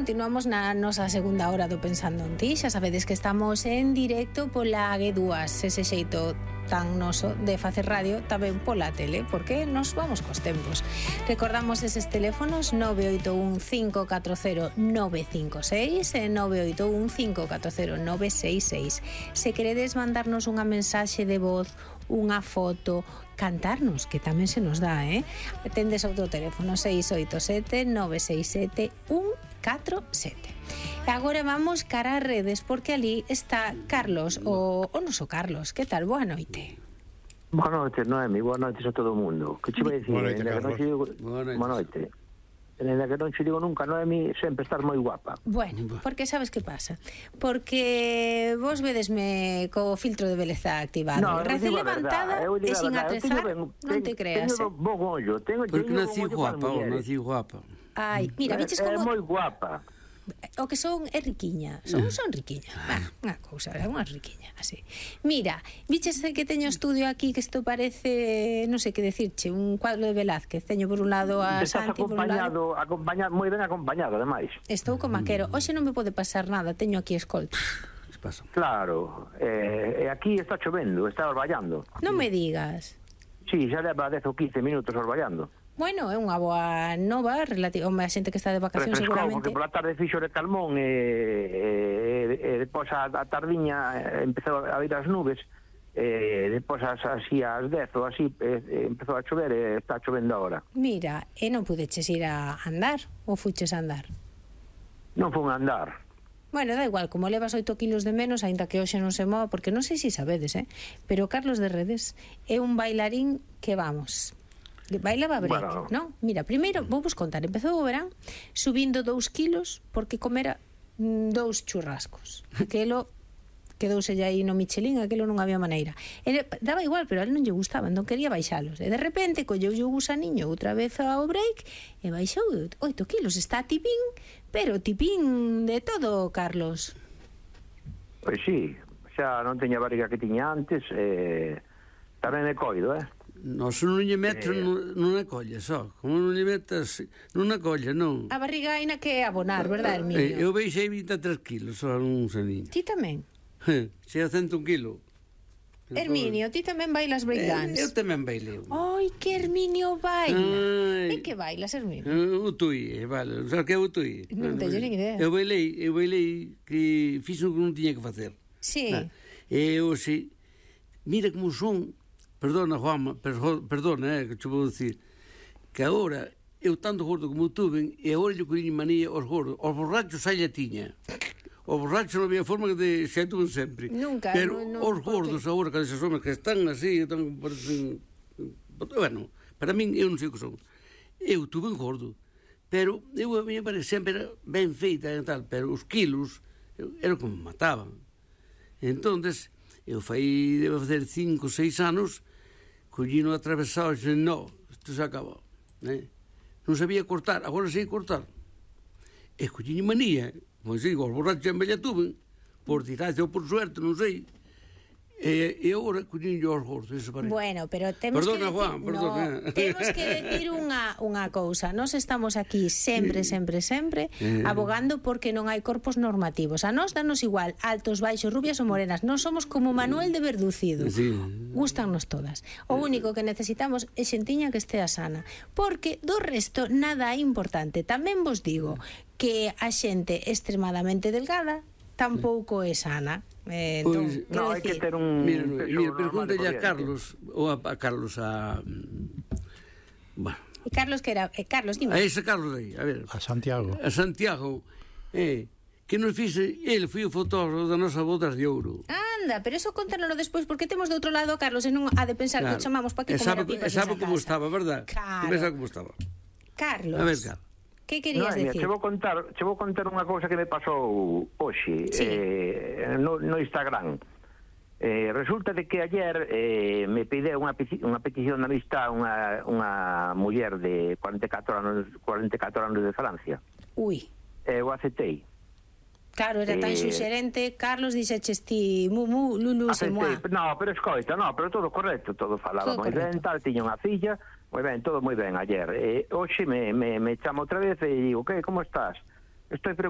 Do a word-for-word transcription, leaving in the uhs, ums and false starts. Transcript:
continuamos na nosa segunda hora do Pensando en Ti. Xa sabedes que estamos en directo pola G dúas, ese xeito tan noso de facer radio tamén pola tele, porque nos vamos cos tempos. Recordamos eses teléfonos nove oito un cinco catro cero nove cinco seis e nove oito un cinco catro cero nove seis seis. Se queredes mandarnos unha mensaxe de voz, unha foto, cantarnos, que tamén se nos dá, eh? Tendes outro teléfono seis oito sete nove seis sete un catro sete. E agora vamos cara a redes, porque ali está Carlos, o, o noso Carlos. Que tal? Boa noite. Boa noite, Noemi, boa noite a todo o mundo. Que che vai dicir? Boa noite, Carlos. Digo... Boa noite. Ainda que non che digo nunca, Noemi, sempre estás moi guapa. Bueno, porque sabes que pasa? Porque vos vedesme co filtro de beleza activado. No, Recién levantada e sin atezar, non te creas. Teño bon ollo, teño porque nací guapa, ou nací guapa. Ai, mira, viches como... como... É moi guapa. O que son é riquiña, son, son riquiña, ah, unha cousa, é unha riquiña, así. Mira, viches que teño estudio aquí, que isto parece, non sei que decirche, un cuadro de Velázquez. Teño por un lado a Santi, por un lado... acompañado, moi ben acompañado, ademais. Estou con maquero, hoxe non me pode pasar nada, teño aquí escolta. Claro, eh, aquí está chovendo, está orballando. Non me digas. Sí, xa leva dez ou quince minutos orballando. Bueno, é unha boa nova relativa a xente que está de vacacións seguramente. Porque pola tarde fixo de calmón e, e, e depois a, a tardiña empezou a vir as nubes e depois as, así ás dez ou así e, empezou a chover e está chovendo agora. Mira, e non pudeches ir a andar ou fuches a andar? Non fun a andar. Bueno, da igual, como levas oito kilos de menos, aínda que hoxe non se mova, porque non sei se sabedes, eh? Pero Carlos de Redes é un bailarín que vamos... Bailaba break, bueno. Non? Mira, primeiro, vou vos contar, empezou o verán subindo dous kilos porque comera mm, dous churrascos. Aquelo quedouse aí no Michelin, aquelo non había maneira. Ele, daba igual, pero a él non lle gustaba, non quería baixalos. E de repente colleu o gusaniño outra vez ao break e baixou oito kilos. Está tipín, pero tipín de todo, Carlos. Pois sí, xa non teña a barriga que tiña antes, eh, tamén me coido, eh? Nos non lle metes eh... nunha colla, só. Como non lle metes nunha colla, non. A barriga aina que abonar, verdad, Herminio? Eh, eu baixei vinte e tres kilos, só nun saniño. Ti tamén? Se a cento un kilo. Herminio, ti tamén bailas breakdance? Eh, eu tamén bailei. Ai, que Herminio baila. E que bailas, Herminio? Uh, o tui, vale. Sabes que é o tui? Non teño nin idea. Eu bailei, eu bailei que fiz o que non tiña que facer. Sí. E eu, se... Mira como son... Perdona, Juanma, per, perdona, eh, que te vou dicir que agora, eu tanto gordo como tuve e agora eu colliño manía aos gordos, aos borrachos xa lle tiña. Os borrachos non había forma que de xa tuve sempre. Nunca. Pero no, no, os gordos agora, que esas homes que están así, están, parecen... Bueno, para min, eu non sei o que son. Eu tuve un gordo, pero eu a miña parece sempre era ben feita e tal, pero os kilos era como me mataban. Entonces, eu fai, debe facer cinco, seis anos, collino atravesado e dixen, no, isto se acabou, né? Non sabía cortar, agora sei cortar. E collino manía, pois digo, os borrachos en bella tuve, por desgracia ou por suerte, non sei. E, e agora collino aos gordos, eso parece. Bueno, pero temos perdona, que Juan, decir, perdona. No, temos que decir unha, unha cousa. Nós estamos aquí sempre, sempre, sempre eh. abogando porque non hai corpos normativos. A nós danos igual, altos, baixos, rubias ou morenas. Nós somos como Manuel de Verducido. Sí. Gústannos todas. O único que necesitamos é xentiña que estea sana. Porque do resto nada é importante. Tamén vos digo que a xente extremadamente delgada tampouco é sana. Eh, entón, pues, no, hai que ter un... Mira, mira pregúntale a Carlos, ou a, a Carlos, a... Bueno. E Carlos que era... Eh, Carlos, dime. A ese Carlos aí, a ver. A Santiago. A Santiago, eh, que nos fixe, ele foi o fotógrafo da nosa bodas de ouro. Anda, pero eso contanoslo despois, porque temos do outro lado a Carlos e non ha de pensar claro. Que o chamamos para que comer a pipas nesa casa. E sabe como estaba, verdad? Claro. Tú ves como estaba. Carlos. A ver, Carlos. Que querías no, decir? Che vou contar, che vou contar unha cousa que me pasou hoxe sí. eh, no, no Instagram. Eh, resulta de que ayer eh, me pide unha, unha petición de amistad unha, unha muller de cuarenta e catro anos, cuarenta e catro anos de Francia. Ui. E eu aceptei. Claro, era tan eh, suxerente, Carlos dixeches ti, mu, mu, lulu, se moa. No, pero escoita, no, pero todo correcto, todo falaba moi ben, tal, tiña unha filla, moi ben, todo moi ben ayer. E hoxe me, me, me chama outra vez e digo, que, como estás? Estoy